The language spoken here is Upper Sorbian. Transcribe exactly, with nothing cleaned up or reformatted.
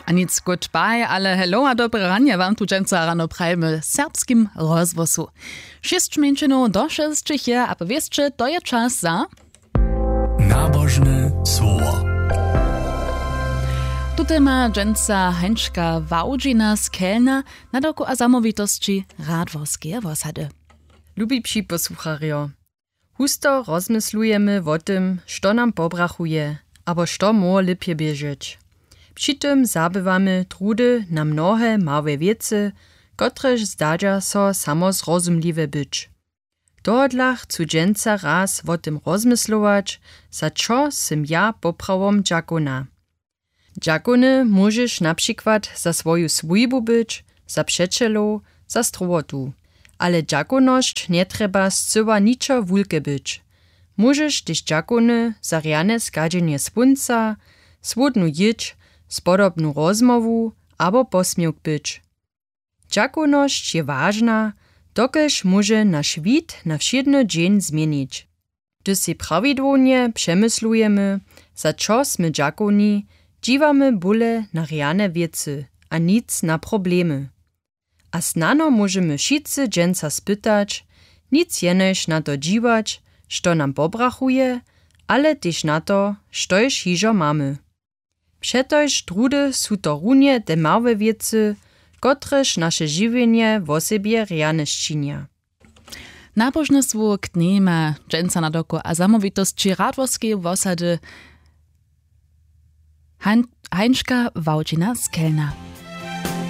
A nic, goodbye, ale hello a dobre ranje wam tu dźensa rano prajimy w serbskim rozhłosu. Šěsć mjeńšinow do šesćich je a po wěsće to je čas za nabožne słowo. Tute ma dźensa Hańčka Wałdźina z Kelna, na doku a zamołwitosći Radworskeje wosady. Lubi připosłucharjo, husto rozmyslujemy wo tym, što nam pobrachuje abo što móhło lěpje běžeć. Při tym zabywamy trudy na mnohe małe wěcy, kotrež zdadźa so samo zrozumliwe być. Tohodla chcu dźensa raz wo tym rozmyslować, za čo sym ja poprawom dźakowna. Dźakowny móžeš na přikład za swoju swójbu być, za přećelow, za strowotu. Ale dźakownosć njetrjeba scyła ničo wulke być. Móžeš tež dźakowny za rjane schadźenje słónca, słódnu jědź, spodobnu rozmołwu abo posměwk być. Dźakownosć je wažna, dokelž móže naš wid na wšědny dźeń změnić. Hdyž sej prawidłownje přemyslujemy, za čo smy dźakowni, dźiwamy bóle na rjane wěcy a nic na problemy. A snano móžemy wšitcy dźensa spytać, nic jenož na to dźiwać, što nam pobrachuje, ale tež na to, štož hižo mamy. Přetož trudy su to runje te małe wěcy, kotrež naše žiwjenje wosebje rjane sčinja. Nabožne słowo k dnjejma dźensa na doko a zamołwitosći Radworskeje wosady Hańčka Wałdźina z Kelna.